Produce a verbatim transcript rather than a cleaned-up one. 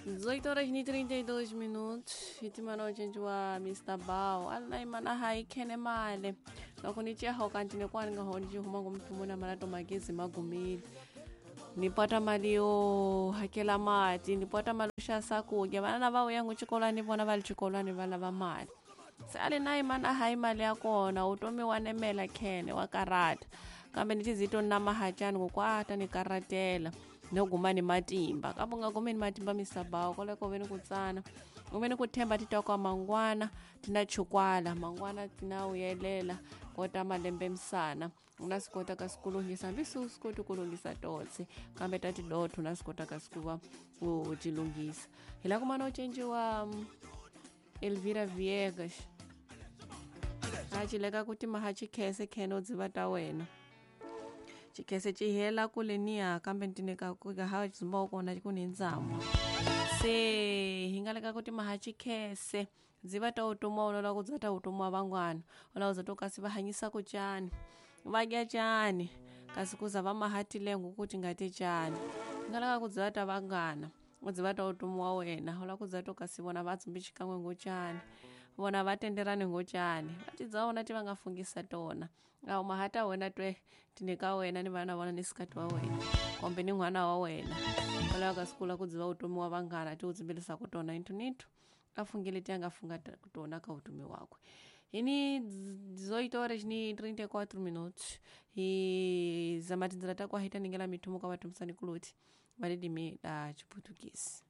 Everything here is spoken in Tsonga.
dezoito horas e trinta e dois minutos. Hitimana ochenji wa Mister Bao. Alai mana hai kene male. Loko ni chia hoka ntine kwani nga honi huma ngumtumuna mara to magezi magumile. Nipata mali yo hakela mati, nipata mali xa sakudya. Vana lava vuya ngo xikolweni vona va le xikolweni va lava mali. Se a li na yi mana hayi mali ya kona utomi wa nemela khene wa karata. Kambe ni tizito na mahachani ngo kwata ni karatela. No guma ni matimba. Kambe u nga gumi ni matimba Mister Bao koleko ve ni ku tsana. U ve ni ku themba ti twa kwa mangwana tina chukwala, mangwana tina vuyelela kota malembe misana. U nga swi kota ka swi ku lunghisa hambi swi swi koti ku lunghisa totse kambe ta tidotho u nga swi kota ka swi ku va u ti lunghisa. Hi la ku mana u cinciwa Elvira Viegas. A ci leka ku ti maha chikhese khene u dziva ta wena. Chikhese ci hela kule niya kambe ntine ka ku ka ha dzumba kona ku ni ndzamo. Se hi nga leka ku ti maha chikhese dziva ta utomi wa la ku dza ta utomi wa van'wana. U la ku za to kasi va hanyisa ku cani. Va dya cani kasi ku za va maha tilengo ku ti nga ti cani. Hi nga leka ku dziva ta vanghana. U dziva ta utomi wa wena u la ku dza to kasi vona va dzumbi xikan'we ngo cani. Vona va tenderani ngo cani. Va ti dza vona ti va nga fungisa tona. A wu maha ta wena twe tine ka wena ni vana vona ni sikati wa wena. Kumbe ni n'wana wa wena. U lava ka siku la ku dziva utomi wa vanghana ti u dzimbelisa ku tona into nito. A fungile ti a nga funga tona ka utomi wakwe. Hi ni dezoito horas ni trinta e quatro minutos. Hi zama tindzela ta kwa hi ta ningela mithumo ka vatumisani kuloti va ririmi ra Xiputukezi.